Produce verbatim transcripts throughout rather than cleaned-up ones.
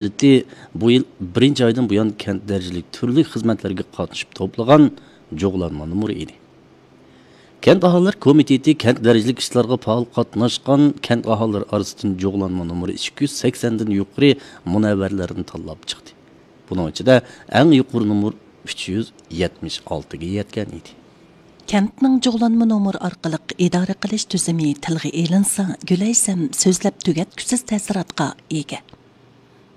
مۇددىتى بۇ يىل بىرىنچى ئايدىن بۇيان كەنت دەرىجىلىك تۈرلۈك خىزمەتلەرگە قاتنىشىپ توپلىغان جۇغلانما نومۇرى ئىدى. كەنت ئاھالىلەر كومىتېتى كەنت دەرىجىلىك ئىشلارغا پائال قاتناشقان كەنت ئاھالىلىرى ئارىسىدىن جۇغلانما نومۇرى ئىككى يۈز سەكسەندىن يۇقىرى مۇنەۋۋەرلەرنى تاللاپ چىقتى. بۇنىڭ ئىچىدە ئەڭ يۇقىرى نومۇر ئۈچ يۈز يەتمىش ئالتىگە يەتكەن ئىدى. كەنتنىڭ جۇغلانما نومۇر ئارقىلىق ئىدارە قىلىش تۈزۈمى تىلغا ئېلىنسا، گۈلەيسەم سۆزلەپ تۈگەتكۈسىز تەسىراتقا ئىگە.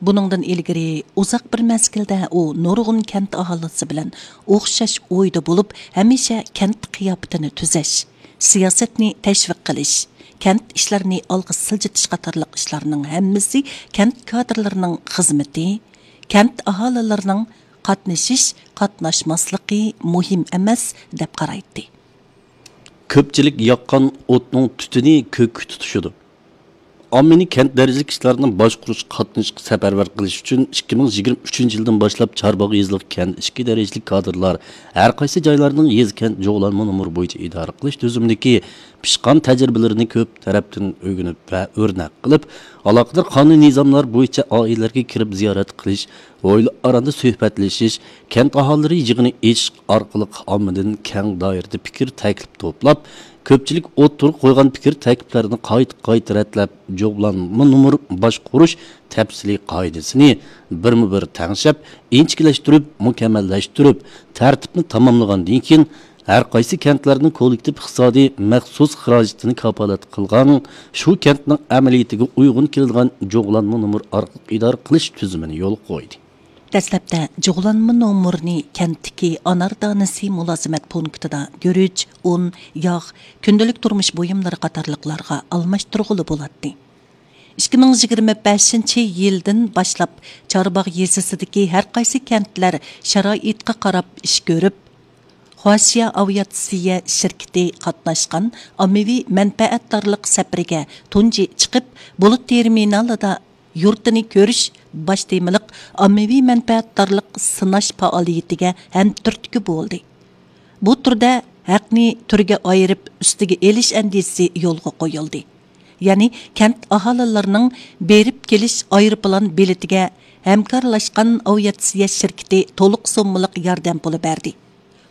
بۇنىڭدىن ئىلگىرى ئۇزاق بىر مەزگىلدە ئۇ نۇرغۇن كەنت ئاھالىسى بىلەن ئوخشاش ئويدا بولۇپ، ھەمىشە كەنت قىياپىتىنى تۈزەش، سىياسەتنى تەشۋىق قىلىش، كەنت ئىشلىرىنى ئالغا سىلجىتىش قاتارلىق ئىشلارنىڭ ھەممىسى كەنت كادىرلىرىنىڭ خىزمىتى، كەنت ئاھالىلىرىنىڭ قاتنىشىش، قاتناشماسلىقى مۇھىم ئەمەس، دەپ قارايتتى. كۆپچىلىك ياققان ئوتنىڭ تۈتۈنى كۆككە تۇتىشىدۇ. ئاممىنى كەنت دەرىجىلىك ئىشلارنى باشقۇرۇشقا قاتنىشىشقا سەپەرۋەر قىلىش ئۈچۈن ئىككى مىڭ يىگىرمە ئۈچىنچى يىلدىن باشلاپ چارباغ يېزىلىق كەنت ئىچكى دەرىجىلىك كادىرلار ھەر قايسى جايلارنىڭ يېزا، كەنت جۇغلانما نومۇرى بويىچە ئىدارە قىلىش تۈزۈمىدىكى پىشقان تەجرىبىلىرىنى كۆپ تەرەپتىن ئۆگىنىپ ۋە ئۆرنەك قىلىپ، ئالاقىدار قانۇن نىزاملار بويىچە ئائىلىلەرگە كىرىپ زىيارەت قىلىش، ھويلا ئاراندا سۆھبەتلىشىش، كەنت ئاھالىلىرى يىغىنى ئېچىش ئارقىلىق ئاممىدىن كەڭ دائىرىدە پىكىر تەكلىپ توپلاپ، كۆپچىلىك ئوتتۇرىغا قويغان پىكىر تەكلىپلەرنى قايتا قايتا رەتلەپ، جۇغلانما نومۇر باشقۇرۇش تەپسىلىي قائىدىسىنى بىرمۇ بىر تەڭشەپ، ئىنچىكىلەشتۈرۈپ، مۇكەممەللەشتۈرۈپ، تەرتىپنى تاماملىغاندىن كېيىن، ھەر قايسى كەنتلەرنىڭ كوللېكتىپ ئىقتىسادىي مەخسۇس خىراجىتىنى كاپالەتلىك قىلغان، شۇ كەنتنىڭ ئەمەلىيىتىگە ئۇيغۇن كېلىدىغان جۇغلانما نومۇر ئارقىلىق ئىدارە قىلىش تۈزۈمىنى يولغا قويدى. دەسلەپتە جۇغلانما نومۇرنى كەنتتىكى ئانار دانىسى مۇلازىمەت پونكىتىدا گۈرۈچ، ئۇن، ياغ، كۈندىلىك تۇرمۇش بۇيۇملىرى قاتارلىقلارغا ئالماشتۇرغىلى بولاتتى. ئىككى مىڭ يىگىرمە بەشىنچى يىلدىن باشلاپ چارباغ يېزىسىدىكى ھەر قايسى كەنتلەر شارائىتقا قاراپ ئىش كۆرۈپ، خۇاشيا ئاۋىئاتسىيە شىركىتى قاتناشقان ئاممىۋى مەنپەئەتدارلىق سەپىرىگە تۇنجى چىقىپ، بۇلۇت تېرمىنالىدا يۇرتىنى كۆرۈش باش تېمىلىق ئاممىۋى مەنپەئەتدارلىق سىناش پائالىيىتىگە ھەمتۈرتكە بولدى. بۇ تۈردە ھەقنى تۈرگە ئايرىپ ئۈستىگە ئېلىش ئەندىزىسى يولغا قويۇلدى. يەنى كەنت ئاھالىلىرىنىڭ بېرىپ كېلىش ئايروپىلان بېلىتىگە ھەمكارلاشقان ئاۋىئاتسىيە شىركىتى تولۇق سوممىلىق ياردەم پۇلى بەردى.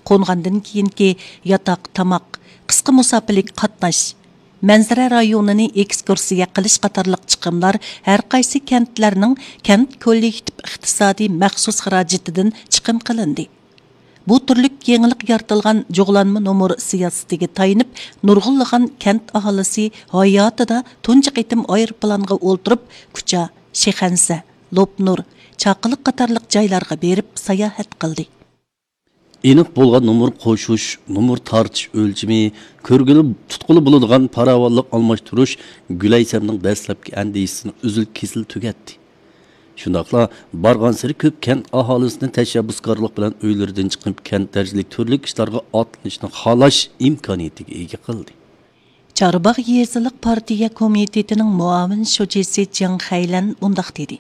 قونغاندىن كېيىنكى ياتاق، تاماق، قىسقا مۇساپىلىك قاتناش، مەنزىرە رايونىنى ئېكسكۇرسىيە قىلىش قاتارلىق چىقىملار ھەر قايسى كەنتلەرنىڭ كەنت كوللېكتىپ ئىقتىسادىي مەخسۇس خىراجىتىدىن چىقىم قىلىندى. بۇ تۈرلۈك يېڭىلىق يارىتىلغان جۇغلانما نومۇر سىياسىتىگە تايىنىپ، نۇرغۇنلىغان كەنت ئاھالىسى ھاياتىدا تۇنجى قېتىم ئايروپىلانغا ئولتۇرۇپ، كۇچا، شىخەنزە، لوپنۇر، چاقىلىق قاتارلىق جايلارغا بېرىپ ساياھەت قىلدى. ئېنىق بولغان نومۇر قوشۇش، نومۇر تارتىش ئۆلچىمى، كۆرگىلى، تۇتقىلى بولىدىغان پاراۋانلىق ئالماشتۇرۇش گۈلەيسەمنىڭ دەسلەپكى ئەندىشىسىنى ئۈزۈل-كېسىل تۈگەتتى. شۇنداقلا بارغانسېرى كۆپ كەنت ئاھالىسىنى تەشەببۇسكارلىق بىلەن ئۆيلىرىدىن چىقىپ، كەنت دەرىجىلىك تۈرلۈك ئىشلارغا ئاتلىنىشنى خالاش ئىمكانىيىتىگە ئىگە قىلدى. چارباغ يېزىلىق پارتىيە كومىتېتىنىڭ مۇئاۋىن شۇجىسى جياڭ خەيلەن مۇنداق دېدى: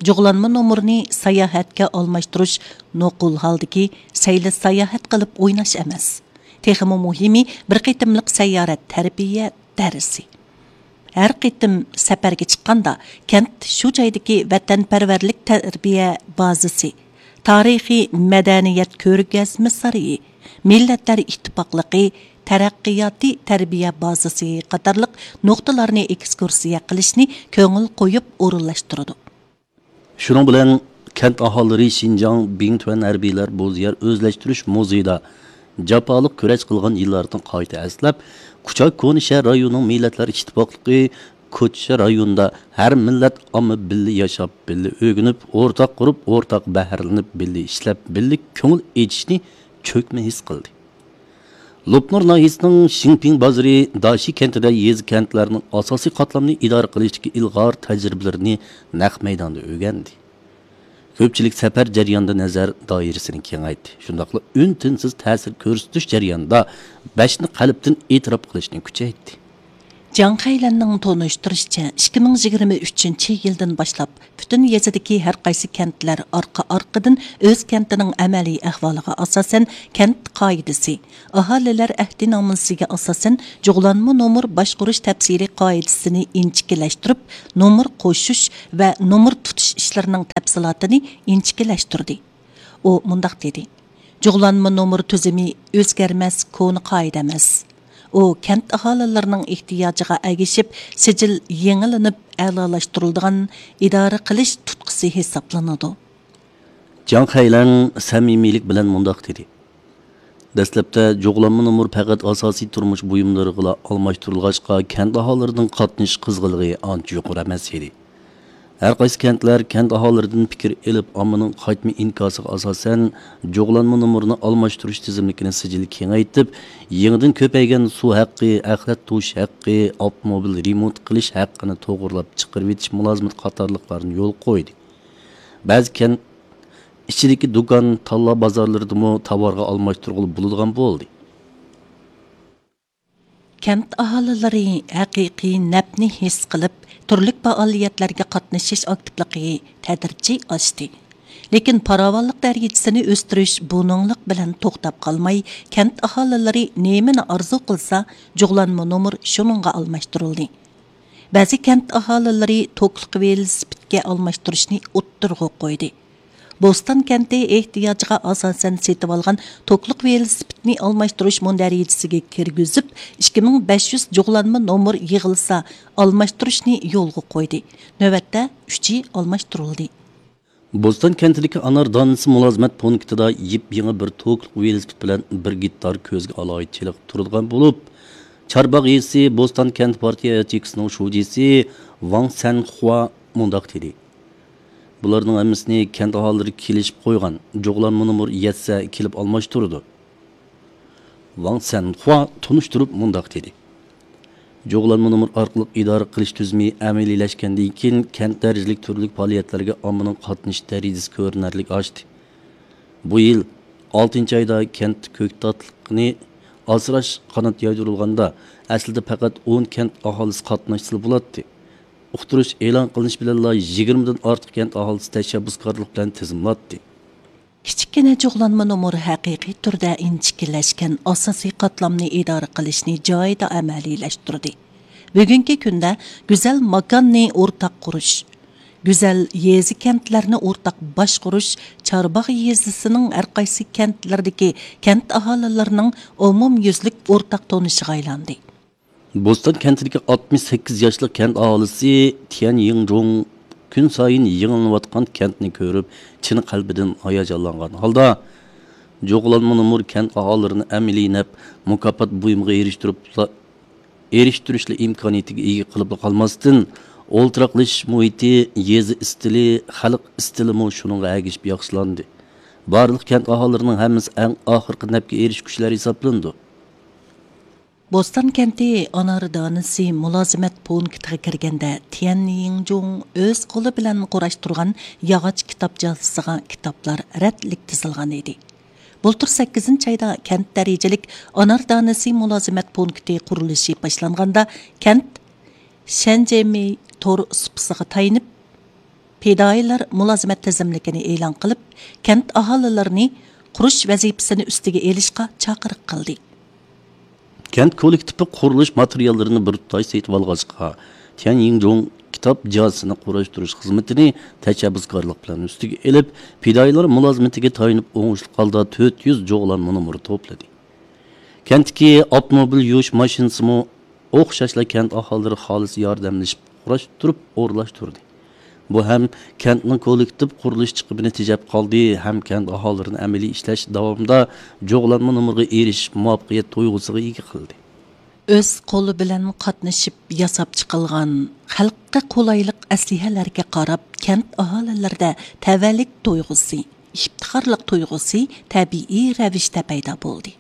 جۇغلانما نومۇرنى ساياھەتكە ئالماشتۇرۇش نوقۇل ھالدىكى سەيلە ساياھەت قىلىپ ئويناش ئەمەس. تېخىمۇ مۇھىمى، بىر قېتىملىق سەييارە تەربىيە دەرسى. ھەر قېتىم سەپەرگە چىققاندا، كەنت شۇ جايدىكى ۋەتەنپەرۋەرلىك تەربىيە بازىسى، تارىخىي مەدەنىيەت كۆرگەزمە سارىيى، مىللەتلەر ئىتتىپاقلىقى تەرەققىياتى تەربىيە بازىسى قاتارلىق نۇقتىلارنى ئېكسكۇرسىيە قىلىشنى كۆڭۈل قويۇپ ئورۇنلاشتۇرىدۇ. شۇنىڭ بىلەن كەنت ئاھالىلىرى شىنجاڭ بىڭتۈەن ھەربىيلەر بوزيەر ئۆزلەشتۈرۈش مۇزېيىدا جاپالىق كۈرەش قىلغان يىللارنى قايتا ئەسلەپ، كۇچا كونا شەھەر رايونىنىڭ مىللەتلەر ئىتتىپاقلىقى كوچا رايونىدا ھەر مىللەت ئامما بىللە ياشاپ، بىللە ئۆگىنىپ، ئورتاق قۇرۇپ، ئورتاق بەھرىلىنىپ، بىللە ئىشلەپ، بىللە كۆڭۈل ئېچىشنى چۆكمە ھېس قىلدى. لوپنۇر ناھىيەسىنىڭ شىڭپىڭ بازىرى داشى كەنتىدە يېزا، كەنتلەرنىڭ ئاساسىي قاتلامنى ئىدارە قىلىشتىكى ئىلغار تەجرىبىلىرىنى نەق مەيداندا ئۆگەندى. كۆپچىلىك سەپەر جەريانىدا نەزەر دائىرىسىنى كېڭەيتتى، شۇنداقلا ئۈن-تىنسىز تەسىر كۆرسىتىش جەريانىدا بەشنى قەلبتىن ئېتىراپ قىلىشنى كۈچەيتتى. جاڭ خەيلەننىڭ تونۇشتۇرۇشىچە، ئىككى مىڭ يىگىرمە ئۈچىنچى يىلدىن باشلاپ پۈتۈن يېزىدىكى ھەر قايسى كەنتلەر ئارقا-ئارقىدىن ئۆز كەنتىنىڭ ئەمەلىي ئەھۋالىغا ئاساسەن كەنت قائىدىسى، ئاھالىلەر ئەھدىنامىسىگە ئاساسەن جۇغلانما نومۇر باشقۇرۇش تەپسىلىي قائىدىسىنى ئىنچىكىلەشتۈرۈپ، نومۇر قوشۇش ۋە نومۇر تۇتۇش ئىشلىرىنىڭ تەپسىلاتىنى ئىنچىكىلەشتۈردى. ئۇ مۇنداق دېدى: جۇغلانما نومۇر تۈزۈمى ئۆزگەرمەس كونا قائىدە ئەمەس. ئۇ كەنت ئاھالىلىرىنىڭ ئېھتىياجىغا ئەگىشىپ سىجىل يېڭىلىنىپ ئەلالاشتۇرۇلىدىغان ئىدارە قىلىش تۇتقىسى ھېسابلىنىدۇ. جاڭ خەيلەن سەمىمىيلىك بىلەن مۇنداق دېدى: دەسلەپتە جۇغلانما نومۇر پەقەت ئاساسىي تۇرمۇش بۇيۇملىرىغىلا ئالماشتۇرۇلغاچقا، كەنت ئاھالىلىرىنىڭ قاتنىشىش قىزغىنلىقى ئانچە يۇقىرى ئەمەس ئىدى. ھەر قايسى كەنتلەر كەنت ئاھالىلىرىدىن پىكىر ئېلىپ، ئاممىنىڭ قايتما ئىنكاسىغا ئاساسەن، جۇغلانما نومۇرىنى ئالماشتۇرۇش تىزىملىكىنى سىجىل كېڭەيتىپ، يېڭىدىن كۆپەيگەن سۇ ھەققى، ئەخلەت توشۇش ھەققى، ئاپتوموبىل رېمونت قىلىش ھەققىنى توغرىلاپ چىقىرىۋېتىش مۇلازىمىتى قاتارلىقلارنى يولغا قويدى. بەزى كەنت ئىچىدىكى دۇكان، تاللا بازارلىرىدىمۇ تاۋارغا ئالماشتۇرغىلى بولىدىغان بولدى. كەنت ئاھالىلىرى ھەقىقىي نەپنى ھېس قىلىپ، تۈرلۈك پائالىيەتلەرگە قاتنىشىش ئاكتىپلىقى تەدرىجىي ئاشتى. لېكىن پاراۋانلىق دەرىجىسىنى ئۆستۈرۈش بۇنىڭلىق بىلەن توختاپ قالماي، كەنت ئاھالىلىرى نېمىنى ئارزۇ قىلسا، جۇغلانما نومۇر شۇنىڭغا ئالماشتۇرۇلدى. بەزى كەنت ئاھالىلىرى توكلۇق ۋېلىسىپىتكە ئالماشتۇرۇشنى ئوتتۇرىغا قويدى. بوستان كەنتى ئېھتىياجىغا ئاساسەن سېتىۋالغان توكلۇق ۋېلىسىپىتنى ئالماشتۇرۇش مۇندەرىجىسىگە كىرگۈزۈپ، ئىككى مىڭ بەش يۈز جۇغلانما نومۇر يىغىلسا، ئالماشتۇرۇشنى يولغا قويدى. نۆۋەتتە ئۈچى ئالماشتۇرۇلدى. بوستان كەنتىدىكى ئانار دانىسى مۇلازىمەت پونكىتىدا يېپيېڭى بىر توكلۇق ۋېلىسىپىت بىلەن بىر گېكتار كۆزگە ئالاھىدە چېلىقىپ تۇرىدىغان بولۇپ، چارباغ يېزىسى بوستان كەنت پارتىيە ياچېيكىسىنىڭ شۇجىسى ۋاڭ سەنخۇا مۇنداق دېدى: بۇلارنىڭ ھەممىسىنى كەنت ئاھالىلىرى كېلىشىپ قويغان، جۇغلانما نومۇر يەتسە كېلىپ ئالماشتۇرىدۇ. ۋاڭ سەنخۇا تونۇشتۇرۇپ مۇنداق دېدى: جۇغلانما نومۇر ئارقىلىق ئىدارە قىلىش تۈزۈمى ئەمەلىيلەشكەندىن كېيىن، كەنت دەرىجىلىك تۈرلۈك پائالىيەتلەرگە ئاممىنىڭ قاتنىشىش دەرىجىسى كۆرۈنەرلىك ئاشتى. بۇ يىل ئالتىنچى ئايدا كەنت كۆكتاتلىقىنى ئاسراش قانات يايدۇرۇلغاندا، ئەسلىدە پەقەت ئون كەنت ئاھالىسى قاتناشسىلا بولاتتى. ئۇقتۇرۇش ئېلان قىلىنىش بىلەنلا يىگىرمىدىن ئارتۇق كەنت ئاھالىسى تەشەببۇسكارلىق بىلەن تىزىملاتتى. كىچىككىنە جۇغلانما نومۇر ھەقىقىي تۈردە ئىنچىكىلەشكەن ئاساسىي قاتلامنى ئىدارە قىلىشنى جايىدا ئەمەلىيلەشتۈردى. بۈگۈنكى كۈندە گۈزەل ماكاننى ئورتاق قۇرۇش، گۈزەل يېزا كەنتلەرنى ئورتاق باشقۇرۇش چارباغ يېزىسىنىڭ ھەرقايسى كەنتلىرىدىكى كەنت ئاھالىلىرىنىڭ ئومۇميۈزلۈك ئورتاق تونۇشىغا ئايلاندى. بوستان كەنتىدىكى ئاتمىش سەككىز ياشلىق كەنت ئاھالىسى تيەن يىڭجۇڭ كۈنسايىن يېڭىلىنىۋاتقان كەنتنى كۆرۈپ، چىن قەلبىدىن ھاياجانلانغان ھالدا، جۇغلانما نومۇر كەنت ئاھالىلىرىنى ئەمەلىي نەپ مۇكاپات بۇيۇمىغا ئېرىشتۈرۈپلا، ئېرىشتۈرۈشلا ئىمكانىيىتىگە ئىگە قىلىپلا قالماستىن، ئولتۇراقلىشىش مۇھىتى، يېزا ئىستىلى، خەلق ئىستىلىمۇ شۇنىڭغا ئەگىشىپ ياخشىلاندى. بارلىق كەنت ئاھالىلىرىنىڭ ھەممىسى ئەڭ ئاخىرقى نەپكە ئېرىشكۈچىلەر ھېسابلىنىدۇ. بوستان كەنتى ئانار دانىسى مۇلازىمەت پونكىتىغا كىرگەندە، تيەن يىڭجۇڭ ئۆز قولى بىلەن قۇراشتۇرغان ياغاچ كىتاب جازىسىغا كىتابلار رەتلىك تىزىلغان ئىدى. بۇلتۇر سەككىزىنچى ئايدا كەنت دەرىجىلىك ئانار دانىسى مۇلازىمەت پونكىتى قۇرۇلۇشى باشلانغاندا، كەنت شەنجيېمېي تور سۇپىسىغا تايىنىپ، پىدائىيلار مۇلازىمەت تىزىملىكىنى ئېلان قىلىپ، كەنت ئاھالىلىرىنى قۇرۇش ۋەزىپىسىنى ئۈستىگە ئېلىشقا چاقىرىق قىلدى. كەنت كوللېكتىپى قۇرۇلۇش ماتېرىياللىرىنى بىر تۇتاش سېتىۋالغاچقا، تيەن يىڭجۇڭ كىتاب جازىسىنى قۇراشتۇرۇش خىزمىتىنى تەشەببۇسكارلىق بىلەن ئۈستىگە ئېلىپ، پىدائىيلار مۇلازىمىتىگە تايىنىپ ئوڭۇشلۇق ھالدا تۆت يۈز جۇغلانما نومۇر توپلىدى. كەنتتىكى ئاپتوموبىل يۇيۇش ماشىنىسىمۇ ئوخشاشلا كەنت ئاھالىلىرى خالىسا ياردەملىشىپ قۇراشتۇرۇپ ئورۇنلاشتۇردى. بۇ ھەم كەنتنىڭ كوللېكتىپ قۇرۇلۇش چىقىمىنى تېجەپ قالدى، ھەم كەنت ئاھالىلىرىنى ئەمەلىي ئىشلەش داۋامىدا جۇغلانما نومۇرغا ئېرىشىش مۇۋەپپەقىيەت تۇيغۇسىغا ئىگە قىلدى. ئۆز قولى بىلەن قاتنىشىپ ياساپ چىقىلغان خەلققە قولايلىق ئەسلىھەلەرگە قاراپ، كەنت ئاھالىلىرىدە تەۋەلىك تۇيغۇسى، ئىپتىخارلىق تۇيغۇسى تەبىئىي رەۋىشتە پەيدا بولدى.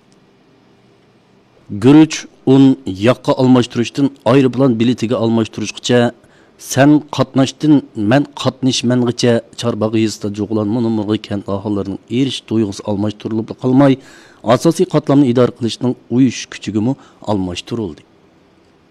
گۈرۈچ، ئۇن، ياغقا ئالماشتۇرۇشتىن ئايروپىلان بېلىتىگە ئالماشتۇرۇشقىچە، سەن قاتناشتىن مەن قاتنىشىمەنغىچە چارباغ يېزىسىدا جۇغلانما نومۇرغا كەنت ئاھالىلىرىنىڭ ئېرىشىش تۇيغۇسى ئالماشتۇرۇلۇپلا قالماي، ئاساسىي قاتلامنى ئىدارە قىلىشنىڭ ئۇيۇشۇش كۈچىگىمۇ ئالماشتۇرۇلدى.